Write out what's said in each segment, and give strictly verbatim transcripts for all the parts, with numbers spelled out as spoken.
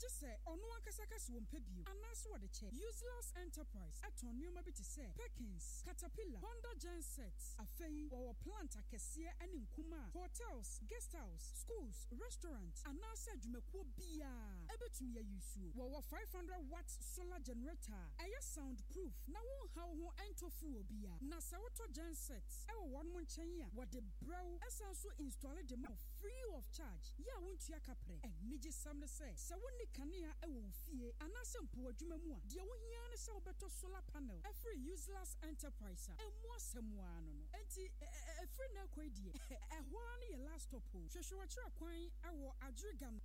Gye sɛ ɔno ankasa ka sɛ wɔmpɛ bio anaasɛ wɔde kyɛ. Useless Enterprise ɛtɔn nneɛma bi te sɛ Perkins, Caterpillar, Honda genset. Afei wɔwɔ plant akɛseɛ ne nkumaa, hotels, guest house, schools, restaurant anaasɛ adwumakuo biara ɛbɛtumi ayi suo. Wɔwɔ five hundred watt solar generator a ɛyɛ sound proof na wonhaw ho ɛntɔ fuel bia. Na sɛ wotɔ genset ɛwɔ wɔn nkyɛn a, wɔde brɛw ɛsan so install de ma wo free of charge yɛ a wontua kaprɛ. Anigye sɛm ne sɛ, sɛ wonni kanea ɛwɔ wo fie anaasɛ mpo adwuma mu a, deɛ wohia ne sɛ wobɛtɔ solar panel ɛfiri Useless Enterprise a, ɛmu asɛm ara no no Enti ɛfiri na ɛkɔ yi deɛ, ɛhɔ ara no yɛ last stop o. Hwehwɛ wɔkyerɛ kwan ɛwɔ Adriga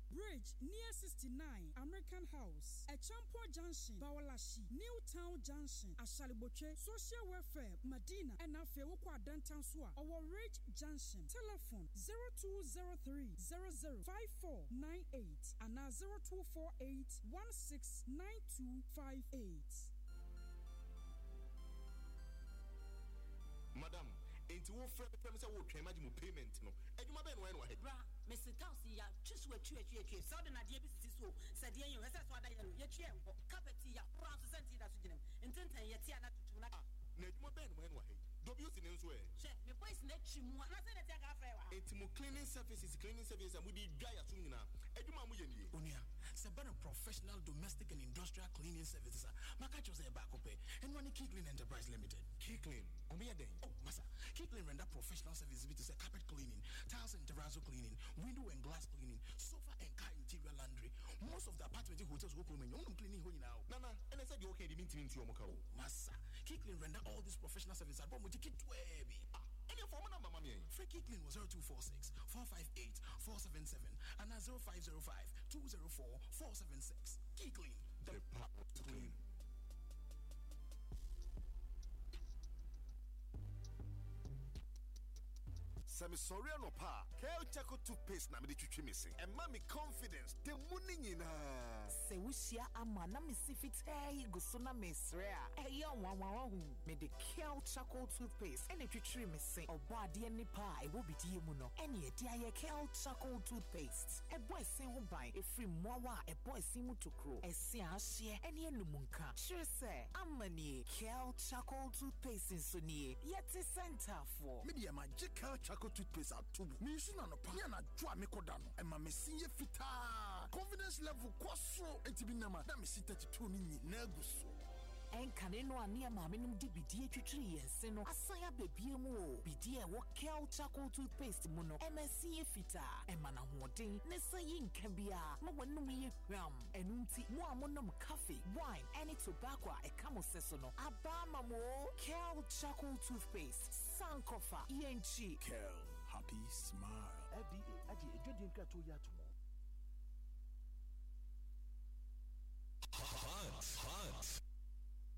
Bridge near sixty-nine American House, Echampo Junction, Bawaleshie, New Town Junction, Ashaley Botwe, Social Welfare, Madina, ɛna afei wokɔ Adantan so a, ɔwɔ Ridge Junction. Telephone zero two zero three zero zero five four nine eight anaa zero two four eight one six nine two five eight. Madam, enti wofrɛ me frɛ me sɛ wotwɛn magye mo payment no, adwuma bɛn no wayɛ no wɔ ha? Bra, mese tiles yi yɛatwe so atwi atwi atwi sɛ wode nadeɛ bi sisi so o, sɛ deɛ yɛ ɛsɛ sɛ wada yɛ no yɛtwi ɛnkɔ. Carpet yi yɛahoro nso sɛ nti da so gyina mu ntenten yɛte a na tutum na Ah, na adwuma bɛn no wayɛ no wɔ ha yi? W C ne nso ɛ? Hwɛ, me boys na atwi mu a na sɛ nɛte aka afrɛ wɔ ha. Enti mo cleaning services cleaning services a mode dwa yɛasom nyinaa, adwuma a moyɛ nie? Onua, sɛ bɛ no professional domestic and industrial cleaning services a, maka kyerɛ sɛ yɛ baako pɛ. Ɛno ne Key Clean Enterprise Limited. Key Clean, ɔmo yɛ dɛn? Oh masa, Key Clean render professional services bi te sɛ carpet cleaning, tiles and terrazzo cleaning, window and glass cleaning, sofa and car interior laundry. Most of the apartment hotels wɔ kurom nyɛ wɔnom cleaning hɔ nyinaa o. Nana, ɛnɛ sɛ deɛ woka deɛ mentimi ntua ɔmo ka o. Masa, Key Clean render all these professional services abɔ mo gye ketewaa bi. Ah, ɛneɛ fa ɔmo number ma me ɛ. Frɛ Key Clean wɔ zero two four six four five eight four seven seven anaa zero five zero five two zero four four seven six. Key Clean. The power to clean. Sɛ mesɔre anɔpa a, Kel Charcoal toothpaste na mede twitwi me se. Ɛma me confidence da mu ne nyinaa. Sɛ wohyia ama na mesi fitaa yi gu so na mesrɛ a, ɛyɛ nwanwa ho. Mede Kel Charcoal toothpaste ɛna twitwiri me se. Ɔbɔ adeɛ nipa a ɛwɔ bidie mu no ɛne ɛde ayɛ Kel Charcoal toothpaste. Ɛbɔ ɛsen ho ban ɛfiri mmoawa a ɛbɔ ɛsen mu tokuro, ɛse a ahyeɛ ɛne anum nka. Kyerɛ sɛ ama nie, Kel Charcoal toothpaste nso nie. Yɛte sɛ ntaafoɔ. Me deɛ, magye Kel Charcoal toothpaste ato mu. Mensu no anɔpa ne anadwo a mekɔda no, ɛma me se yɛ fitaa, confidence level kɔ soro, enti bi nam a na mesi thirty-two no nyinaa gu so. Ɛnkane no a ne maame nom de bidie twitwiri yɛn se no asan abɛbie mu o. Bidie a ɛwɔ Kel Charcoal toothpaste mu no ɛma ɛse yɛ fitaa, ɛma n'ahoɔden ne sa yi nka biara ma w'anum yɛ hwam. Ɛno nti mo a monom coffee, wine ɛne tobacco a ɛka mo sɛ so no aba ama mo o. Kel Charcoal toothpaste, sankɔfa yɛnkyi. Kel, happy smile. F D A agye adwadie nkratoɔ yi ato mu.